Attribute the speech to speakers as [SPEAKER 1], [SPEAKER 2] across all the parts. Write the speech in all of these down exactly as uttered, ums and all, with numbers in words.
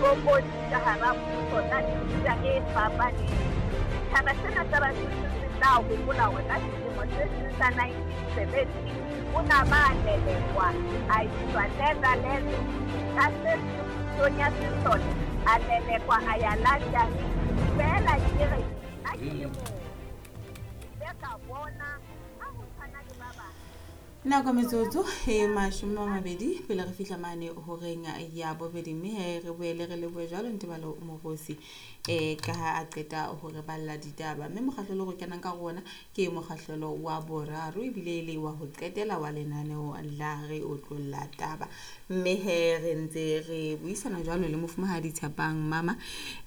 [SPEAKER 1] Ditlokotsi ka hara puso tsa mefuta e fapaneng. Setjhaba sena sa Basotho se tla hopola hore ka selemo se seng sa nineteen seventy o na ba lelekwa a iswa Netherlands, ka se seng pusong ya sesole a lelekwa a ya London. Feela ke re nna ke le motho, ke ile ka bona ha ho tshwana le ba bang.
[SPEAKER 2] Nako metsotso e mashome a mabedi pele re fihla mane horeng ya bobedi, mme he re boele re lebohe jwalo Ntebalo Mogosi eh ka ha a qeta hore balla ditaba. Mme mokgahlelo re kenang ka rona ke mokgahlelo wa boraro ebile e le wa ho qetela wa lenaneo la Re Otlolla Taba. Mme he re ntse re buisana jwalo le mofumahadi Tshepang Mama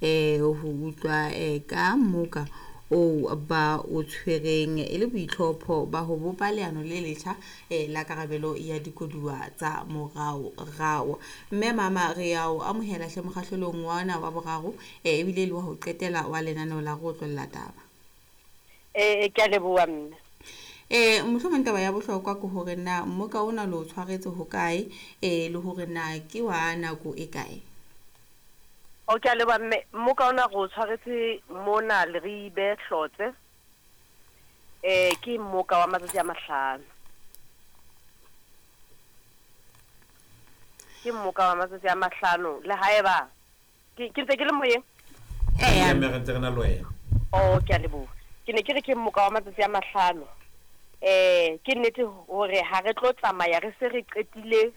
[SPEAKER 2] eh ho utlwa eh ka moka o ba o tshwereng e le boitlhopho ba ho bopa leano le letjha eh la karabelo ya dikoduwa tsa moraorao. Mme Mama re ya o amohela hle mokgahlelong wa ona wa boraro eh ebile le wa ho qetela wa lenaneo la Re Otlolla Taba.
[SPEAKER 3] Eh ke a leboha mme.
[SPEAKER 2] Eh mohlomong taba ya bohlokwa ke hore na mmoka ona lo tshwaretse hokae eh le hore na ke wa nako e kae?
[SPEAKER 3] O ke a leboha mme, mmoka ona re o tshwaretse mona Leribe Hlotse. Eh ke mmoka wa matsatsi a mahlano. Ke mmoka wa matsatsi a mahlano le haeba ke ke ntse ke le moyeng.
[SPEAKER 2] Eh
[SPEAKER 4] mme re ntse re na le wena.
[SPEAKER 3] Oh ke a leboha. Ke ne ke re ke mmoka wa matsatsi a mahlano. Eh ke nnete hore ha re tlo tsamaya re se re qetile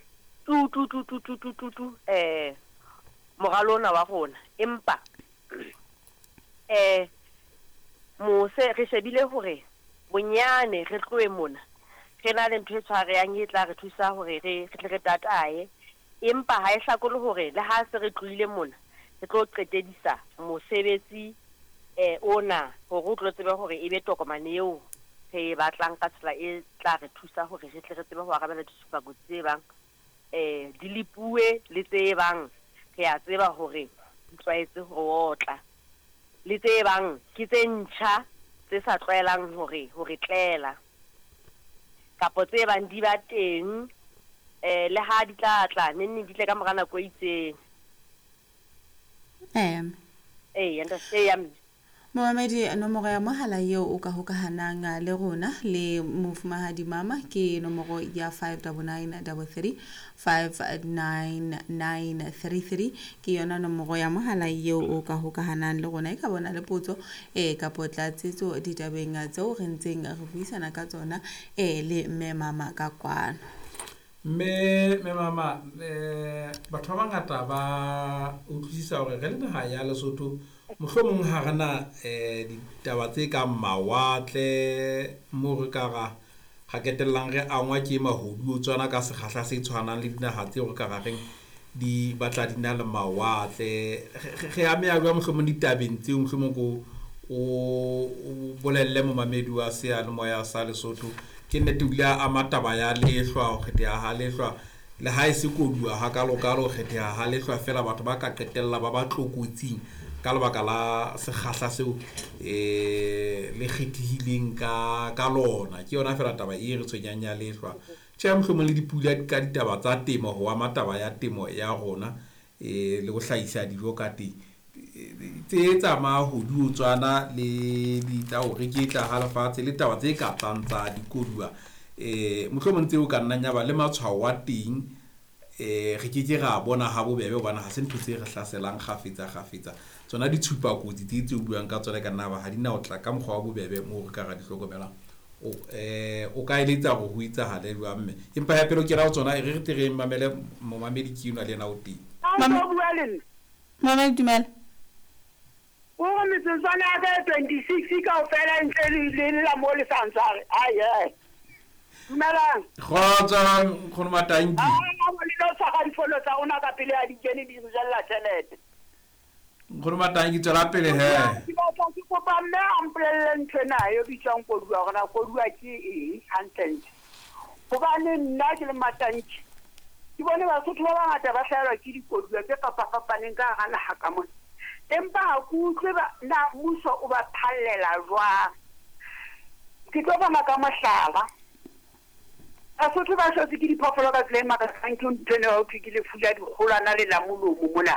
[SPEAKER 3] tu tu tu tu tu tu tu tu eh moralo ona wa rona, empa eh mose re shebile hore bonyane re tlohe mona re na le ntho e tshwarehang e tla re thusa hore re re tle re tatae, empa ha e hlakole hore le ha se re tlohile mona re tlo qetedisa mosebetsi eh ona hore o tlo tsebe hore e be tokomane eo re e batlang ka tsela e tla re thusa hore re tle re tsebe ho arabela ditshupakotsi tse bang eh di lepuwe le tse bang re a tseba hore di tlwaetse ho otla le tse bang ke tse ntjha tse sa tlwaelang hore hore tlela kapo tse bang di ba teng eh le ha di tla tla neng di tle ka mora nako e itseng.
[SPEAKER 2] Eh
[SPEAKER 3] eh ntate ya mme.
[SPEAKER 2] Momamedi, nomoro ya mohala eo o ka hokahanang le rona le mofumahadi Mama ke nomoro ya five double nine double three five nine nine three three. Ke yona nomoro ya mohala eo o ka hokahanang le rona. E ka bona le potso eh kapo tlatsetso ditabeng tseo re ntseng re buisana ka tsona eh le mme Mama ka kwano.
[SPEAKER 4] Mme mme Mama eh batho ba bangata ba utlwisisa hore re le naha ya Lesotho mohlomong ha re na eh ditaba tse kang mawatle mo re ka ra ga ketellang re angwa ke mahodu o tswana ka sekgahla se tshwanang le dinaha tseo re ka ra reng di batla di na le mawatle. Re ameha jwang mohlomong ditabeng tseo, mohlomong ko o bolelle momamedi wa seyalemoya sa Lesotho? Ke nnete o ile a ama taba ya lehlwa, ho kgetheha ha lehlwa le ha e se koduwa hakalokalo, ho kgetheha ha lehlwa fela batho ba ka qetella ba ba tlokotsing ka lebaka la sekgahla seo eh le kgethehileng ka ka lona. Ke yona fela taba e re tshwenyang ya lehlwa. Tjhe, mohlomong le dipula ka ditaba tsa temo ho ama taba ya temo ya rona eh le ho hlahisa dijo ka teng tse tsa mahodu o tswana le ditla ho reketla ha lefatshe le taba tse ka tlang tsa dikoduwa eh mohlomong tseo ka nnang ya ba le matshwao a teng eh re ke ke ra bona ha bobebe hobane ha se ntho tse re hlaselang kgafetsa kgafetsa. Tsona ditshupakotsi tse tse buang ka tsona ka nna ba ha di na ho tla ka mokgwa wa bobebe moo re ka ra di hlokomelang. O eh o ka eletsa hore ho etsahale jwang mme? Empa ya pele ke ra ho tsona e re re tle re mamele momamedi ke enwa le yena o teng.
[SPEAKER 2] Mama Mama dumela.
[SPEAKER 5] O re metsotswana ya ka twenty-six kaofela ntle le la mo le sa ntshware. Ai ai. Dumelang.
[SPEAKER 4] Kgotso nkgono Matanki.
[SPEAKER 5] Ah, mo le no tshwara difono tsa rona ka pele ya di kene di re jella tjhelete.
[SPEAKER 4] Nkgono Matanki tswela pele he.
[SPEAKER 5] Ke batla ke kopa mme a mpolelle ntho ena e bitswang koduwa hore na koduwa ke eng hantlentle. Hobane nna ke le Matanki ke bone Basotho ba bangata ba hlahelwa ke dikoduwa tse fapafapaneng ka hara naha ka mona. Empa ha ke utlwe ba na mmuso o ba phallela jwang. Ke tlo fana ka mohlala. Basotho ba hlotse ke diphoofolo ka tsela e makatsang, ke ntho ena ya ho thwe ke lefu la dikgolwana le la molomo mona.